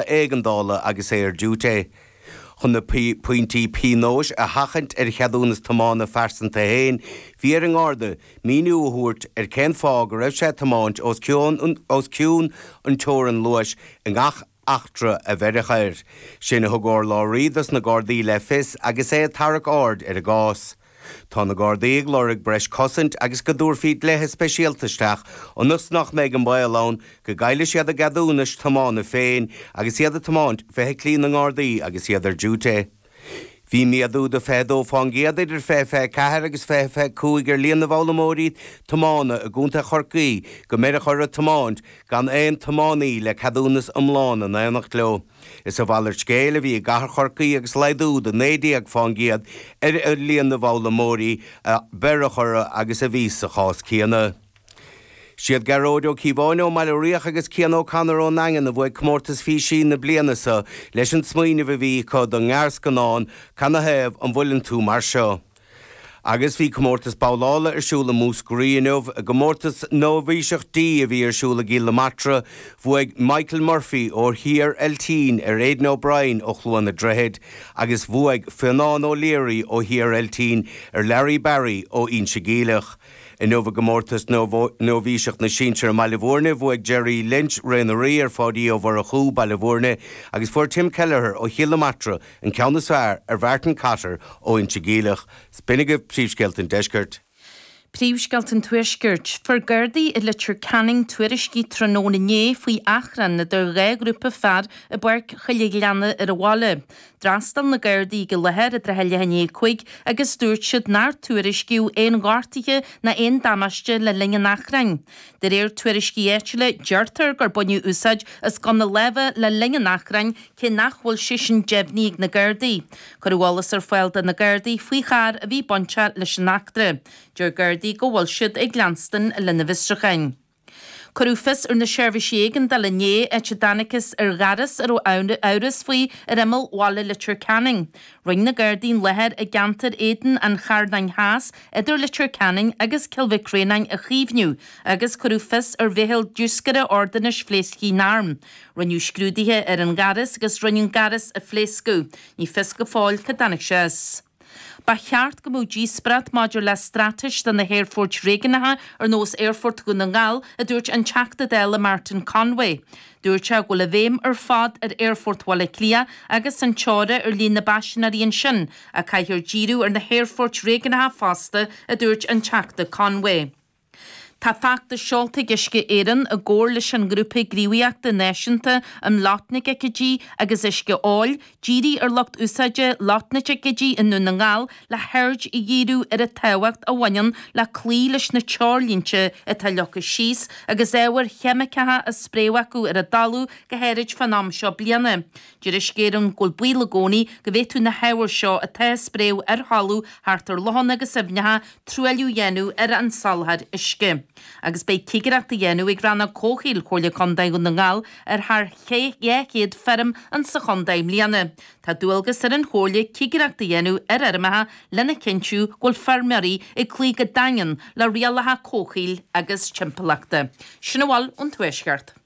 Éigeandála agus é ar diúité. Chun na pointí pionóis a sheachaint ar a cheadúnas tiomána phearsanta féin, bhí ar an nGarda míniú a thabhairt ar cén fáth go raibh sé ag tiomáint os cionn an teorann luais i ngach eachtra a bheireadh air. Sin a thug urlabhraí dos na Gardaí le fios agus é ag tarrac aird ar an gcás. Tá na Gardaí ag lorg breis cosaint agus go dtabharfaí dlíthe speisialta isteach ionas nach mbeidh an baol ann go gcaillfidh siad a gceadúnais tiomána féin agus iad ag tiomáint feithiclí na nGardaí agus iad ar diúité. Bhí méadú de 22% idir 2024 agus 2025 ar líon na bhfoghlaimeoirí tiomána i gContae Chorcaí go mbeireadh orthu tiomáint gan aon tiománaí le ceadúnas iomlán in éineacht leo. Is a mhalairt scéil a bhí i gcathair Chorcaí agus laghdú de 19% ar líon na bhfoghlaimeoirí a beireadh orthu agus a bhí sa chás céanna. Siad Gearóid Ó Cíobháin ón mBaile Riach agus Cian O'Connor ón nDaingean a bhuaigh comórtas físe na bliana seo leis an smaoineamh a bhí acu don ngearrscannán Canathaobh an bhfuileann tú mar seo? Agus bhí comórtas babhlála ar siúl i Múscraí inniu. I gcomórtas Nóibhíseach D a bhí ar siúl i gCill na Martra, bhuaigh Michael Murphy ó Thír Eiltín ar Aidan O'Brien ó Chluain an Droichid agus bhuaigh Fionán O'Leary ó Thír Eiltín ar Larry Barry ó Inse Geimhleach. Inniu i gcomórtas Nóibhíseach na Sinsear i mBaile Bhúirne, bhuaigh Gerry Lynch, Ré na Rí, ar Pháidí Ó Mhurchú, Baile Bhúirne, agus fuair Tim Kelleher ó Chill na Martra An ceann is fearr ar Mhartin Cotter ó Inse Geimhleach. B'in agaibh príomhscéalta an deiscirt. Príomhscéalta an Tuaiscirt. Fuair Gardaí i Leitir Ceanainn tuairiscí tráthnóna inné faoi achrann idir dhá ghrúpa fear i bPáirc Choille Ghleanna ar an bhaile. D'fhreastail na Gardaí ag an láthair i dtrátha leath i ndiaidh 5 agus dúirt siad nár tuairiscíodh aon ghortuithe ná aon damáiste le linn an achrainn. De réir tuairiscí áitiúla, deirtear gur baineadh úsáid as gunna láimhe le linn an achrainn cé nach bhfuil sé sin deimhnithe ag na Gardaí. Cuireadh eolas ar fáil do na Gardaí faoi charr a bhí bainteach leis an eachtra. Deir Gardaí go bhfuil siad ag leanstan lena bhfiosrúcháin. Cuireadh fios ar na seirbhísí éigeandála inné, áit a dtángthas ar ghaireas a raibh amhras faoi ar imeall bhaile Leitir Ceanainn. Rinne na Gardaí an láthair i gceantar Éadan an Charnáin Theas idir Leitir Ceanainn agus Cill Mhic Réanáin a chaomhnú agus cuireadh fios ar mheitheal diúscaire ordanáis phléasctha na n-arm. Rinneadh scrúduithe ar an ghaireas agus rinneadh an gaireas a phléascadh. Ní fios go fóill cá dtáinig sé as. Ba cheart go mbeadh díospóireacht maidir le straitéis do na haerfoirt réigiúnacha ar nós Aerfort Dhún na nGall, a dúirt an Teachta Dála Martin Conway. Dúirt sé go bhfuil an bhéim ar fad ar Aerfort Bhaile Átha Cliath agus an teora ar líon na bpaisinéirí ansin, ach caithfear díriú ar na haerfoirt réigiúnacha fosta, a dúirt an Teachta Conway. Tá feachtas seolta ag Uisce Éireann i gcomhar leis an nGrúpa Gníomhaíochta Náisiúnta um Lotnaidicídí agus Uisce Óil, díriú ar lucht úsáide lotnaidicídí i nDún na nGall le haird a dhíriú ar an tábhacht a bhaineann le cloí leis na treoirlínte atá leagtha síos agus ábhair cheimiceacha á spréadh acu ar an dtalamh, go háirid fán am seo bliana. Deir Uisce Éireann go bhfuil baol i gcónaí go bhféadfadh na hábhair seo atá á spréadh ar thalamh thart ar lochanna agus aibhneacha truailliú a dhéanamh ar an soláthar uisce. Agus beidh cigireacht á dhéanamh ag Rannóg Comhshaoil Chomhairle Contae Dhún na nGall ar thar 200 feirm insa chontae i mbliana. Tá dualgas ar an Chomhairle cigireacht a dhéanamh ar fheirmeacha lena chinntiú go bhfuil feirmeoirí ag cloí go daingean le rialacha comhshaoil agus timpeallachta. Sin a bhfuil ón Tuaisceart.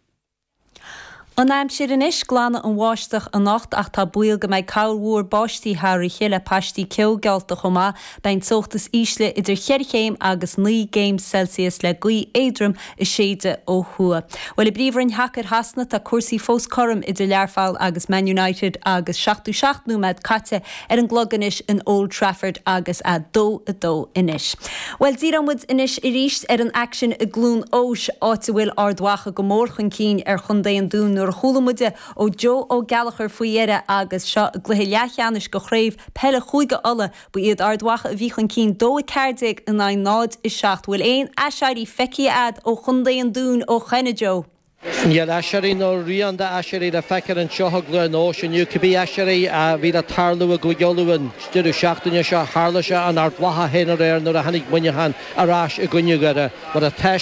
An aimsir anois, Glanfaidh an bháisteach anocht ach tá baol go mbeidh corrmhúr báistí thar oíche le paistí ceo geallta chomh maith. Beidh an teocht is ísle idir cheithre chéim agus 9 gcéim Celsius le gaoth éadrom ag séideadh ó thuaidh. Bhuel, i bPríomhroinn Shacair Shasana tá cúrsaí fós cothrom idir Learpholl agus Man United agus 77 nóiméad caite ar an gclog anois in Old Trafford agus 2, 2 anois. Bhuel, díreoidh muid anois arís ar an aicsean i gCluain Eois, áit a bhfuil Ard Mhacha go mór chun cinn ar chontae an Dúin nuair a chuala muid ó Joe Ó Gallchóir faoi dheireadh agus seo i gcluiche leathcheannais de chraobh peile Chúige Uladh. Ba iad Ard Mhacha a bhí chun cinn 2, 14 in aghaidh 0, 7. Bhfuil aon aiséirí feicthe a'd ó chontae an Dúin ó shoin, a Joe? Níl aiséirí nó rian d'aiséirí le feiceáil anseo i gCluain Eois inniu. Cibé aiséirí a bhí le tarlú i gCúige Uladh an deireadh seachtaine seo, tharla sé in Ard Mhacha féin aréir nuair a tháinig Muineachán ar ais i gcoinne Dhoire. Mar atá.